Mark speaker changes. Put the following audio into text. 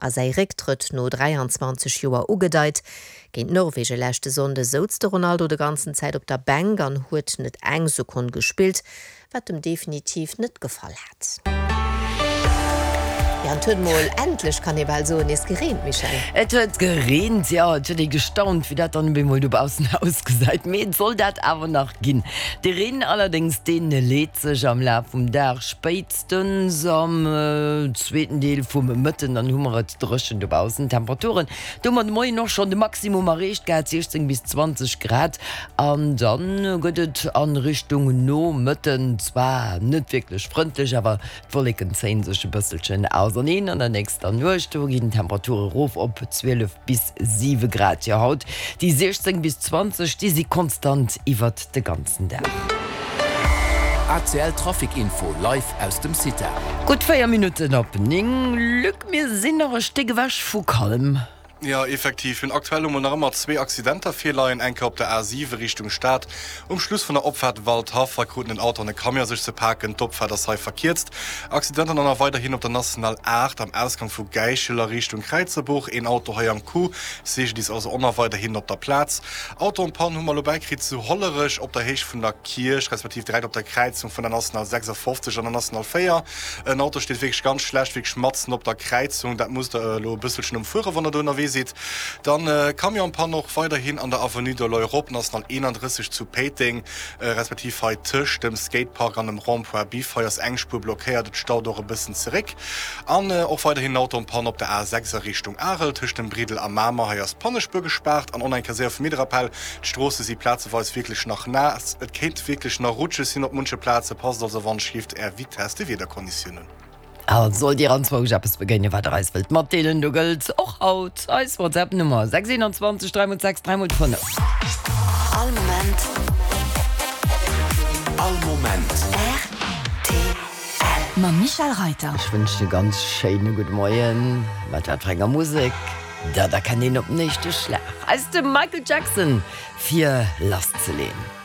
Speaker 1: A säi Récktrëtt no 23 Joer ugedeit. Géint Norwegen leschte Sonnde souz de Ronaldo de ganzen Zäit op der Bänk an huet net eng Sekonn gespillt, wat em definitiv net gefall hat. Jo, an et huet mol endlech, kann ee bal soen, nees gereent, Michèle.
Speaker 2: Et huet gereent, jo. Et huet ee gestaunt, wéi dat dann op eemol dobaussen ausgesäit. Mee et soll dat awer nach ginn. De Reen allerdéngs, dee leet sech am Laf vum Dag, spéitstens am zweeten Deel vum Mëtten, dann hu mer et dréchen dobaussen. D'Temperaturen, do hu mer de Moien och schonn de Maximum erreecht gehat, 16 bis 20 Grad. An dann gëtt et a Richtung Nomëtten zwar net wierklech frëndlech, awer d'Wolleken zéie sech e bësselchen auserneen. An der nächster Nuecht do ginn d'Temperature rof op 12 bis 7 Grad. Jo, haut déi 16 bis 20, déi si konstant iwwert de ganzen Dag.
Speaker 3: ACL Trafic Info live aus dem CITA.
Speaker 2: Gutt 4 Minutten op 9, Luc, mir sinn nach e Stéck ewech vu Calm.
Speaker 4: Jo, effektiv. Mir hunn aktuell emol nach ëmmer zwee Accidenter virleien. Eng Kéier op der A7 Richtung Stad. Um Schluss vun der Opfaart Waldhaff, hei kruten en Auto an e Camion sech ze paken. D'Opfaart ass hei verkierzt. Accidenter dann nach weiderhin op der National 8 am Ausgang vu Gäichel a Richtung Kräizerbuch. Een Auto hei am Coup. CGDIS also och nach weiderhin op der Plaz. Auto en panne hu mer elo bäikritt zu Hollerech op der Héicht vun der Kierch, respektiv direkt op der Kräizung vun der National 56 an der National 4. En Auto steet wierklech ganz schlecht, wierklech matzen op der Kräizung. Dat musst der elo e bësselchen ëmfueren, wann der do ënnerwee sidd. Dann Camion en panne och weiderhin an der Avenue de l'Europe, National 31 zu Péiteng, respektiv hei tëscht dem Skatepark an dem Rond-point Biff. Hei ass eng Spuer blockéiert, et staut och e bëssen zeréck. An och weiderhin en Auto en panne op der A6 a Richtung Arel, tëscht dem Briddel a Mamer. Hei ass d'Pannespuer gespaart. An och nach eng Kéier séier vum Wiederapell, D'Stroosse si plazeweis wierklech nach naass. Et kéint wierklech nach rutscheg sinn op munche Plaze. Passt also wann schleeft Är Vitess de Wiederkonditiounen.
Speaker 2: A sollt Dir anzwousch eppes begéinen, wat Der eis wëllt matdeelen, do gëllt och haut eis WhatsApp-Nummer 6 21 3 x 6 3 x 5.
Speaker 5: All Moment.
Speaker 3: All Moment.
Speaker 5: Rtl. Mam Michèle Reyter.
Speaker 2: Ech wënschen e ganz schéine gudde Moien. Mat wat fir enger Musek? Dat erkennt een op den éischte Schlag. Eis de Michael Jackson fir lasszeleen.